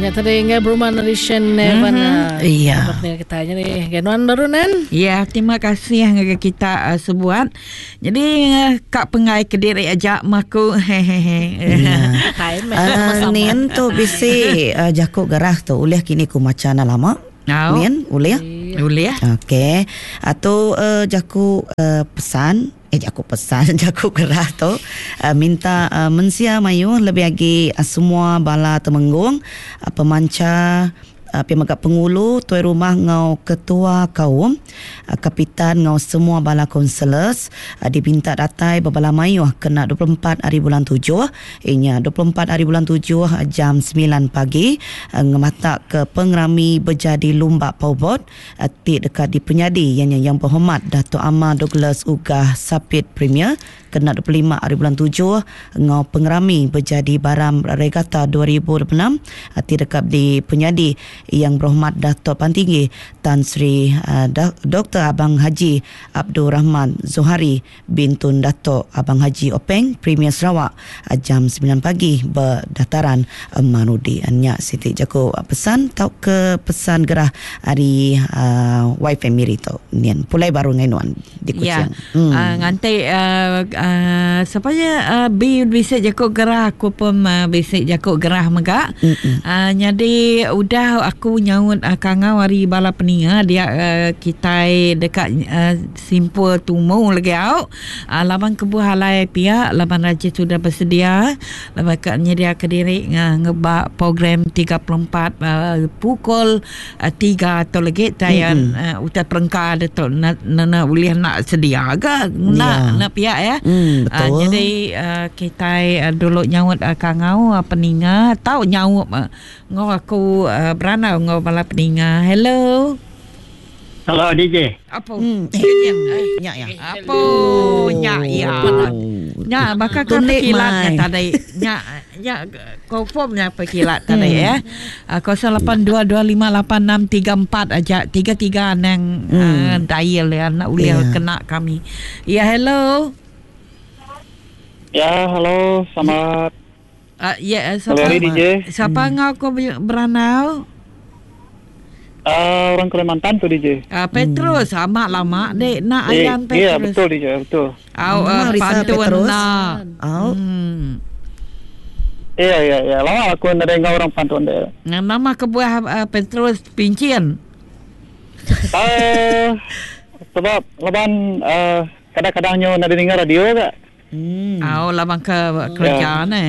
Nya tadi enggai berumah ari Shane Evan. Iya. Dapat ninga kita nya ni. Enggai nuan baru nan. Ya, terima kasih ngagai kita uh, sebuat. Jadi uh, ka pengai kediri aja maku. Hehehe. Ya. Uh, nin tu bisi uh, jaku gerah tu ulih kini ku macha na lama. Au. Nin ulih? Ulih. Okey. Atu uh, jaku uh, pesan Eh jaku pesan jaku gerah tu minta mensia mayuh lebih agi semua bala temenggung, pemancha, pia mega pengulu, tuai rumah enggau ketua kaum, kapitan enggau semua bala kaunselors dipinta datai bebala mayuh kena 24 hari bulan tujuh iya nya 24 hari bulan tujuh jam semilan pagi ngemataka pengerami bejadi lumba powerboat ti deka dipenyadi iya nya Yang Berhormat Datuk Amar Douglas Uggah Sapit Premier kena 25 hari bulan tujuh enggau pengerami bejadi Baram Regatta 2026 ti deka dipenyadi Yang Berhormat Datuk Pantinggi Tan Sri Doktor Abang Haji Abdul Rahman Zohari Bin Tun Datuk Abang Haji Openg Premier Sarawak jam semilan pagi ba Dataran Marudi. Nya siti jaku pesan tauka pesan gerah ari Y Family tu. Nyin pulai baru ngagai nuan di Ya. Kuching. Hmm. Uh, nganti uh, uh, siapa ya uh, B bisi jaku gerah aku pun uh, bisi jaku gerah mega. Uh, jadi udah aku nyaut uh, kangau ari bala peninga dia uh, kitai deka uh, Simpul tumu lagi au. Laban kebuah alai pia laban Raja sudah bersedia laban ka nyediaka diri ngeba program 34 pukul 3 tu lagi tai utai perengka de tu nene ulih enda sedia ga ngena ne pia ya. Jadi kitai dulu nyaut kangau peninga tau nyaup enggau aku berandau enggau bala peninga. Hello. Hello DJ. Apo. Hmm. Nya ya. Apo nya ya. Nya baka ke pekilat nya tadi. Nya nya confirm nya pekilat tadi ya. 0822586634 aja 33 anang hmm. uh, dial ya nak ulih yeah. kena kami. Ya hello. Ya hello selamat Uh, ya, yeah, siapa, DJ. Siapa hmm. ngau ko beranau? Uh, orang Kalimantan tu DJ. Uh, Petrus, hmm. amat lama dek nak eh, ayam Petrus. Ya, betul DJ, betul. Au uh, pantun nak. Au. Hmm. Iya, iya, iya. Lama aku nak dengar orang pantun dia. Nama kebuah uh, Petrus pincin. Uh, sebab laban uh, kadang-kadang nyo nak dengar radio ke. Hmm. Au laban ke kerja ya. ne.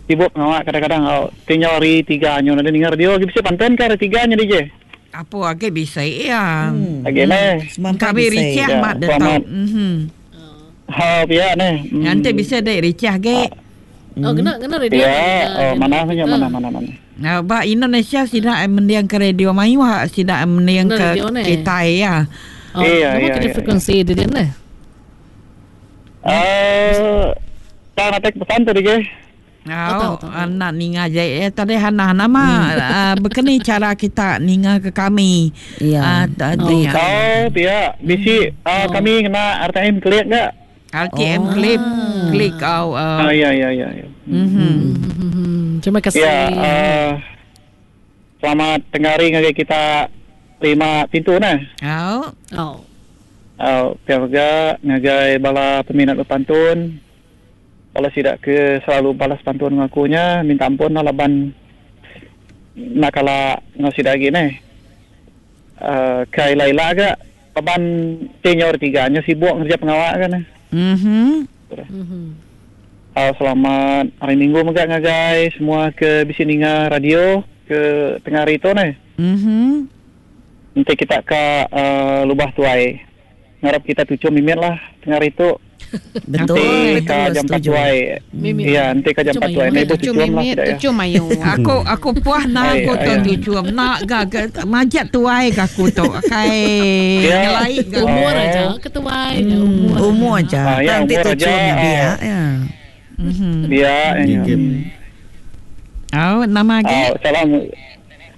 Sibuk pengawa kadang-kadang au tinggal hari tiga nyo nada ninga radio agi bisi panten ke hari tiga nya DJ. Apo agi bisi iya. Hmm. Agi ne. Hmm. Kami ricah ya, mat de tau. Mhm. Ha pia ne. Hmm. Nanti bisa dek ricah ge. Oh kena kena radio. Ya, oh mana punya mana mana mana. Nah, ba Indonesia sida mendiang ke radio mayuh sida mendiang ke kitai ya. Oh, iya, iya, iya. frekuensi dia ne. Eh, tak nak tek pesan tadi ke? Oh, nak ninga je. Eh, tadi Hana nama hmm. uh, bekeni cara kita ninga ke kami. Ya. Uh, tadi. Oh, oh pia. Bisi uh, oh. kami kena RTM klik enggak? RTM oh. klip klik kau. Uh. Oh, ya ya ya. ya. Mm-hmm. Mm-hmm. Terima kasih. Ya, uh, selamat tengah hari ngagai kita lima pintu nah. Oh. Oh. Au, pia mega ngagai bala peminat bepantun. Bala sida ke selalu balas pantun enggau aku nya minta ampun lah laban enda kala enggau sida agi neh. Uh, ke ila-ila ga laban ti nyau hari tiga nya sibuk ngereja pengawa ga neh. Mhm. Au, selamat hari minggu mega ngagai semua ke bisi ninga radio ke tengah hari tu neh. Mhm. Enti kita ka uh, lubah tuai. Ngarap kita tuchum mimit lah tengah hari tu. Betul, Enti ka betul, jampat setuju. tuai. Iya, enti ka jampat tuai. Ni Tuchum tuchum lah mimit, sida ya. tuchum ayu. Aku aku puah nak Ai, aku tu ai. tuchum nak ga, ga majak tuai ga aku tu. Kai Ya. nyelai ga. Umur Oh. aja ketuai hmm. umur. Umur aja. Ah, ya, Nanti umur tujuh aja. dia. Ya. Mhm. Dia. Ya. Oh, nama agi? Ah, salam.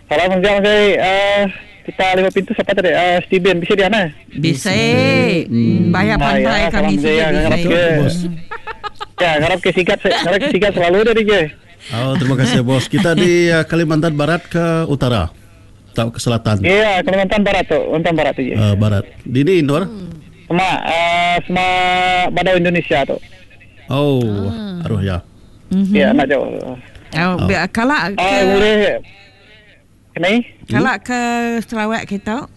Salam juga ngagai uh, kita lima pintu siapa tadi? Uh, Steven bisa di ana? Bisa. Bayar Ah, pantai ya, kami salam sini jaya, ngarap bisa. ke. Ya, ngarap ke sikat, ngarap ke sikat selalu dari je. Oh, terima kasih bos. Kita di uh, Kalimantan Barat ke utara atau ke selatan? Iya, Kalimantan Barat tu, Kalimantan Barat tu je. Uh, barat. Di ni Nur? Hmm. Sama uh, sama badau Indonesia tu. Oh, ah. aruh ya. Mm-hmm. Ya, nak jauh. Oh, oh. Kalau ke uh, boleh Kena? Kalak ke Sarawak kita?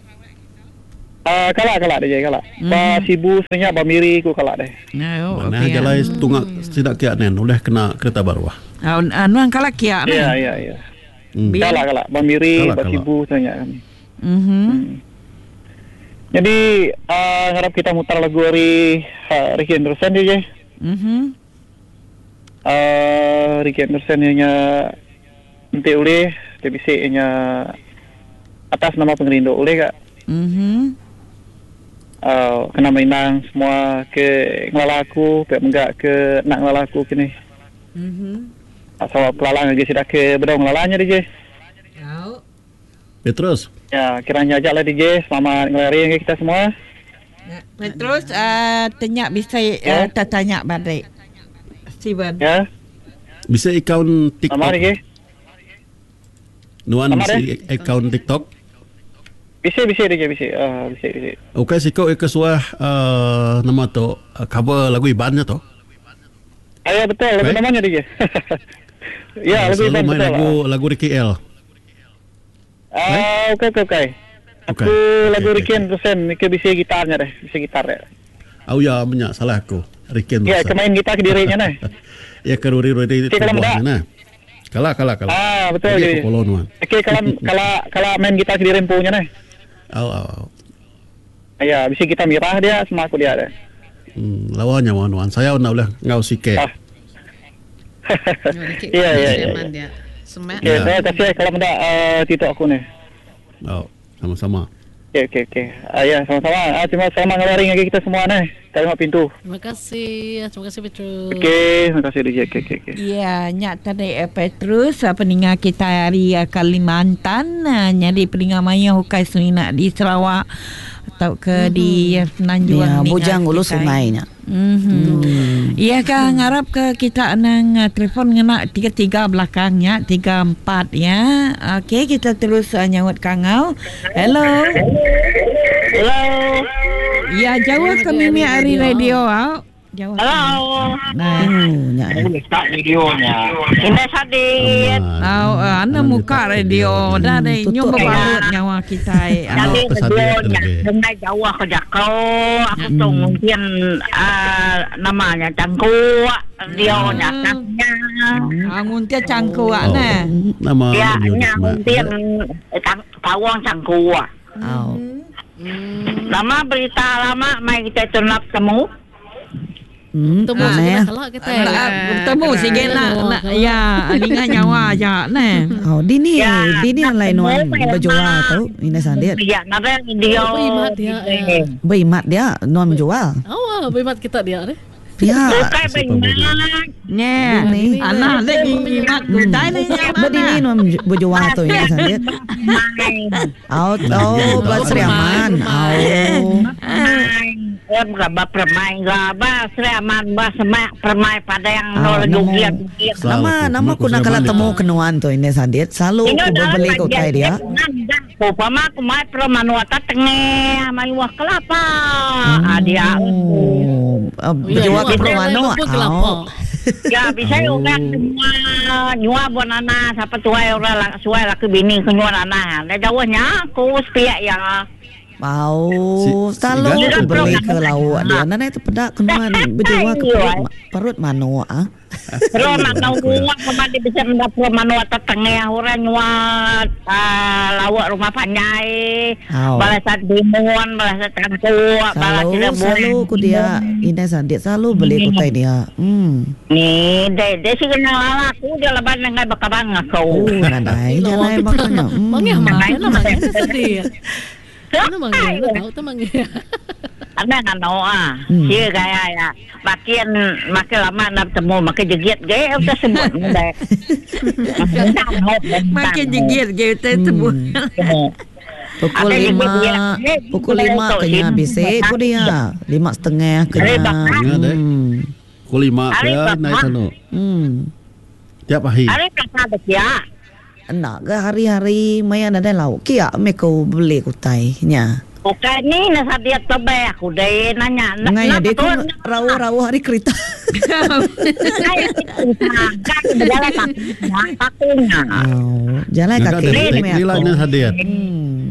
Uh, kalak kalak dia kalak. Mm. Ba Sibu sebenarnya ba Miri ku kalak deh. No, Mana okay. jalai tunga tidak kiak nen oleh kena kereta baru ah. Oh, anuan kalak kiak nen. Ya ya ya. Kalak kalak ba Miri ba Sibu sebenarnya kami. Mhm. Jadi uh, harap kita mutar lagu dari uh, Ricky Anderson dia je. Mhm. Uh, Ricky Anderson nya enti ulih ti bisi nya atas nama pengerindu ulih ga. Mhm. Uh, kena merindang semua ke ngelala aku pia mega ke enda ngelala aku kini. Mhm. Asal pelala ngagai sida ke bedau ngelala nya DJ. Au. Petrus. Ya, kira nya aja lah DJ. Selamat ngelari ngagai kita semua. Petrus uh, tanya bisa uh, tanya balik. Steven. Ya. Bisa account TikTok. Sama DJ. Nuan Sama bisa account TikTok. Bisa bisa DJ bisa. Uh, bisa bisa. Okey siko ke suah uh, nama tu uh, cover lagu Iban nya tu. Ah, ya betul lagu Right? namanya DJ. ya, lagu Selalu Iban main betul. lagu lagu Ricky L. Ah, okey okey okey. Okey. Aku lagu Okey, Ricky okey. Anderson, ke bisa gitarnya deh, bisa gitar deh. Oh ya, menyak salah aku. Ricky Ya, Anderson. kemain gitar ke dirinya nih. Ya ke ruri-ruri Okey, kalau tubuhnya nah. Kalah kalah kalah. Ah, betul Jadi jadi. aku follow nuan. Okey, kalau kalau kalau main gitar ke diri empunya nih. Au au au. Ya, bisa kita mirah dia sama aku dia deh. Lawannya wan wan. Saya nak ulah ngau sikit. Ah. Ya, ya, ya. dia. Semak. Okey, Ya. saya kasih kalau benda uh, TikTok aku nih. Oh, sama-sama. Okey, okey, okey. Ah, ya, sama-sama. Ah, terima selamat ngelari lagi kita semua nih. Terima pintu. Terima kasih. Terima kasih Petrus. Okey, terima kasih DJ. Okey, okey, okey. Ya, nyak tadi Petrus pendengar kita hari Kalimantan jadi pendengar maya hukai sunina di Sarawak atau ke mm-hmm. di Semenanjung Ya, ninga bujang ulu kitai. sungainya. Mm-hmm. Ya kan ngarap ke kita nang telefon ngena 33 belakangnya 34 ya. Okey kita terus nyaut kangau. Hello. Hello. Ya jauh ke mimi hari radio au. Jauh. Hello. Nah. Oh, nya. Start videonya. Ini Sadit. Au ana muka radio dah deh Tutup. nyum berbalut nyawa kita. Jadi Oh, pesan videonya dia. dengar jauh aku jakau. Aku tu mungkin ah, namanya cangkuk. Dia nyaknya. Ah nguntia cangkuak Oh, nah. Nama Ya, radio nya ni, Mak. mungkin tawang cangkuk. Au. Lama berita lama mai kita tunap temu. Temu mana sikit ya? lah kalau kita. Nak bertemu sikit nak nak ya ninga nyawa aja nah. Oh, dini Ya, dini nak lain nuan temu berjual memang. tu. Ini sandiat. Ya, nada dia. Oh, imat dia, ya. Berimat dia nuan menjual. Awal berimat kita dia ni. Ya. Bukan berimat. Nya. Dini. Anak lek ngimat kutai ni Berdini nuan berjual tu ini sandiat. Main. Oh, oh, Basri Aman. Oh. Main. Eh, bukan bah permain gaba, Sri Aman bah semak permain pada yang Ah, nol nemu. jogiat. Selalu Nama aku. nama Aku ku nak Sri kala Aman temu itu. kenuan tu ini sandiat. Selalu ku berbeli ke utai dia. Upama aku mai permanuata tengah mai wah kelapa. Ah dia. Oh, berjual ke Ya, permanu. Lupa kelapa. Oh. Ya bisa orang semua nyua buat nana siapa tuai orang lah suai laki bini ke nyua nana. Dah jauhnya aku sepiak ya. Mau Si- selalu si ku beli Igan. ke lauk dia. Nana itu pedak kenuan berjual ke perut perut manu ah. Pro manau kemana dia bisa mendapat manuata tengah orang nyua ah, lawak rumah panjai. Au. Balasan timun, balasan tangkuk, balas Selalu rebung. selalu ku dia ini sandiat selalu beli ke utai dia. Hmm. Ni, dia dia sih kenal ala aku dia leban dengan bekabang Oh, aku. nadai jangan makanya. Hmm. Mangih mana lah mangih sedih. Mana mangih? Mana tahu tu mangih. Ada ngano ah. Hmm. Sia gaya ya. Makin makin lama nak temu makin jegit ge udah sebut deh. Makin jegit ge kita sebut. Pukul Ada yang lima, dia- dia- pukul dia lima untuk kena sini. bisik ku dia. 5.30 kena. Hari bakar. Ingat, eh. Hmm. Pukul 5 Hari ke bakar. naik sana. Hmm. Tiap hari. Hari pasar tu kia. Enda ga hari-hari maya nadai lauk kia meh ku beli ku utai nya. Ukai ni ne sadia tebeh aku deh nanya. Ngai nyadi ku rauh-rauh ari kerita. Bejalai kaki kaki nya. Oh, jalai kaki meh aku.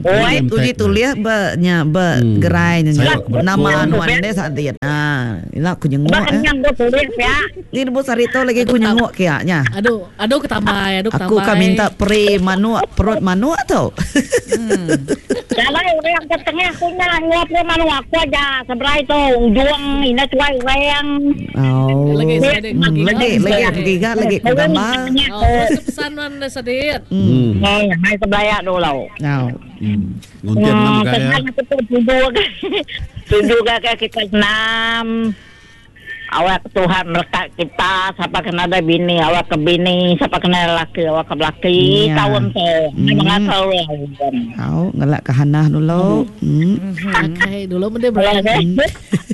Oi, uji tulih ba nya ba gerai nya nama nuan deh Sadit. Ha, ila ku nyenguk. Ba kenyang ku tulih pia. Ni nebus hari tu lagi ku nyenguk kia nya. Aduh, aduh ke tambai, aduh ke tambai. Aku ka minta peri manuk, perut manuk tu. Hmm. Jalai orang ke tengah ku nya nyuap ke manuk aku aja seberai tu ujung ina tuai orang. Oh. Lagi lagi lagi aku giga lagi ku gambar. Oh, pesan nuan sedit. Hmm. Eh, hai sebelaya dulu. Oh. Hmm. Nguntin nama gaya. Tuju tuju ke kita senam. Awak Tuhan merekat kita sapa ke nadai bini awak ke bini sapa ke nadai laki awak ke belaki Ya. taun tu mengasal orang. Au ngelak ke Hanah dulu. Hmm. Okey, dulu mende Kalau Brian. ada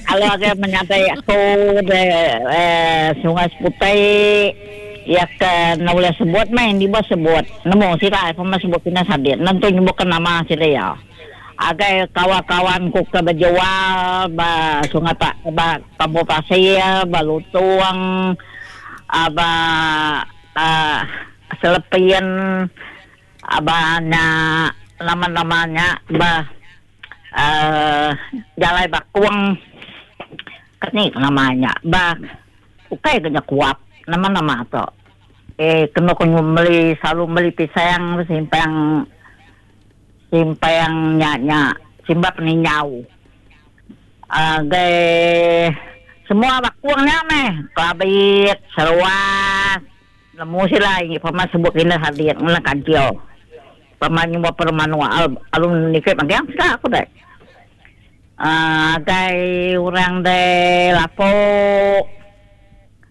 kalau ada menyadai aku de eh, Sungai Seputih ya ke nak boleh sebut main di bawah sebut nemu sila pema sebut kena sadit nentu nyebutkan nama sila ya. Agai kawan-kawan ku ke bejual ba Sungai Pa ba Kampung Pasir, ba Lutong, ba uh, Selepin, ba nya nama-nama nya ba uh, Jalai Bakung. Keni nama nya ba ukai ke nya kuap nama-nama tu. Eh kena ku meli selalu meli pisang simpang Simpang nya nya simbap ninjau. Agai semua bakung nya meh Kelabit, Seruas, nemu sila igi pama sebut kina Sadit ngena kancil. Pama nyuba perlu manuk alu niki magang sida aku deh. Agai orang de Lapok.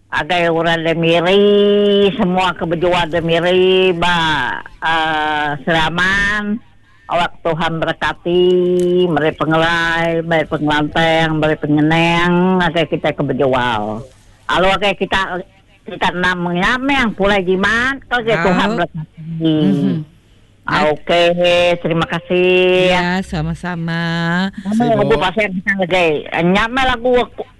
Agai orang da Miri, semua ke bejual da Miri ba uhh Sri Aman, awak Tuhan berekati, meri pengerai, meri pengelantang, meri penyenang agai kitai ke bejual. Lalu agai kita kita enam nya meh pulai jimat ke agai Tuhan berekati. Okey, terima kasih. Ya, sama-sama. Nama lagu pasal kita lagi. Nya meh lagu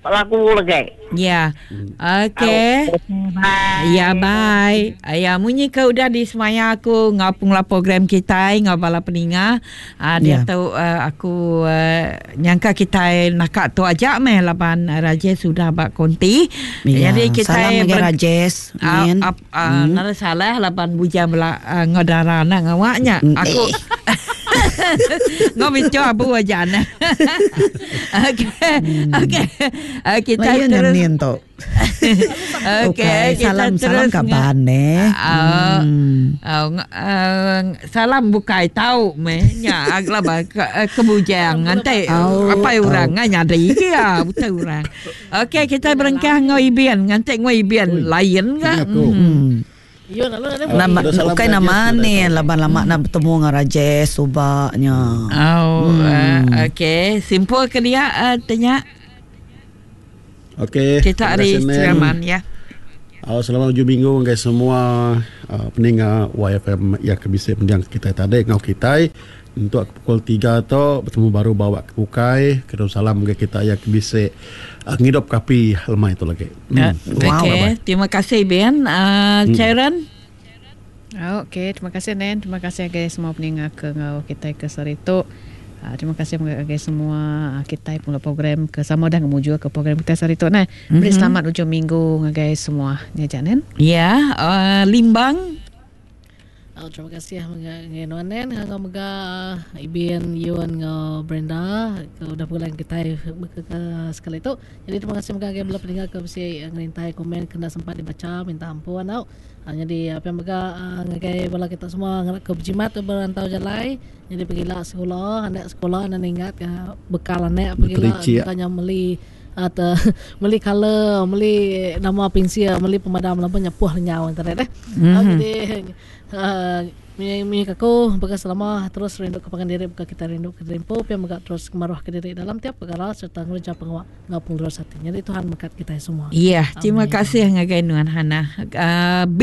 lagu lagi. Ya. Okey. Bye. Ya, bye. Ya, munyi ke udah disemaya aku ngau pengula program kitai ngau bala peninga. Uh, dia ya. tu uh, aku uh, nyangka kitai naka tu aja meh laban Rajesh sudah ba konti. Ya. Jadi kitai Salam ngagai Rajesh. Uh, uh, hmm. Nara salah laban bujang bela uh, ngau dara nak ngawak nya. Hmm. Aku ngau bicu abu aja nah. Okey. Okey. Kita Layan terus nyen tu. Okey, kita salam salam terus kaban eh. Uh, uh, salam bukai tau meh nya agla ba ke, ke bujang nganti Oh, apa orang oh. nyadi ya betul orang. Okey, kita berengkah ngau ibian nganti ngau ibian lain ga. Aku. Hmm. Yo lalu ada Nama Dah salam bukan Rajesh nama sudah ni tahu. laban lama nak bertemu dengan Rajesh subaknya. Oh, hmm. okey, simpul ke dia uh, tanya Okey. kita terima hari kasih, Nen. Seraman ya. Oh, selamat hujung minggu guys semua uh, pendengar YFM yang kebisik mendiang kita tadi ngau kita untuk pukul 3 tu bertemu baru bawa ke Pukai kedua salam ke kita yang kebisik uh, ngidup kapi lemai itu lagi. Hmm. Wow. Okey, terima kasih Ben. Uh, Sharon. Oh, Okey, terima kasih Nen. Terima kasih guys semua pendengar ke ngau kita ke saritu. Uh, terima kasih kepada semua uh, kita pula program ke sama dah ngemuju ke program kita saritu nah. Mm-hmm. Beri selamat hujung minggu ngagai semua. Ni aja Nen. Ya, uh, Limbang. Oh, terima kasih ngai nuan Nen, ngau mega Ibin, Yun, ngau Brenda ke udah pulang kita ke, ke sekali tu. Jadi terima kasih mega ngai bela pendengar ke mesti ngerintai komen kena sempat dibaca minta ampun tau. Ah, jadi apa yang mega ngagai bala kita semua ngerak ke berjimat tu berantau jalai. Jadi pergilah sekolah, anak sekolah anak ingat ke bekal anak pergilah Bertericik. bukannya meli atau meli color, meli nama pensil, meli pemadam lampu nyepuh lenyau internet eh. Mm-hmm. Jadi uh, Munyi ke aku baka selama terus rindu ke pangan diri baka kitai rindu ke diri empu pia mega terus ngemaruh ke diri dalam tiap pekara sereta ngereja pengawa enggau pengelurus ati. Nyadi Tuhan mekat kitai semua. Ya, terima kasih ngagai nuan Hannah. Uh, B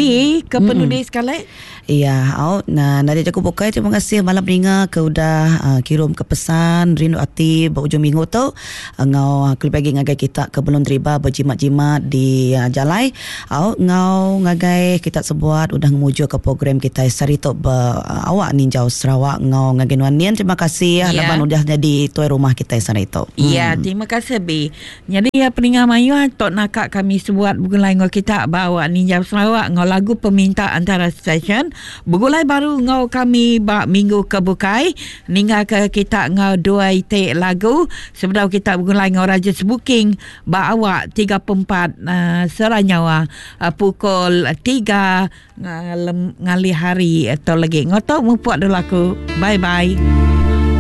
ke penudi sekali. Ya, au nah nadai jaku bukai terima kasih bala peninga ke udah uh, kirum ke pesan rindu ati ba ujung minggu tu enggau kelebih agi ngagai kita ke belum deriba bejimat-jimat di uh, jalai. Au enggau ngagai kita sebuat udah ngemujurka program kitai sehari tu ba awak ninjau Sarawak enggau ngagai nuan Nian terima kasih yeah. laban udah nyadi tuai rumah kitai sehari tu. Ya, yeah, terima kasih Bi. Nyadi ya peninga mayuh tok naka kami sebuat begulai enggau kita ba awak ninjau Sarawak enggau lagu peminta antara stesen begulai baru enggau kami ba minggu ke bukai ningga ke kita enggau dua iti lagu sebedau kita begulai enggau Raja Sebuking Ba awak 34 sera nyawa pukul 3 ngalih hari tu lagi. Ngotok mupuk dulu aku. Bye bye.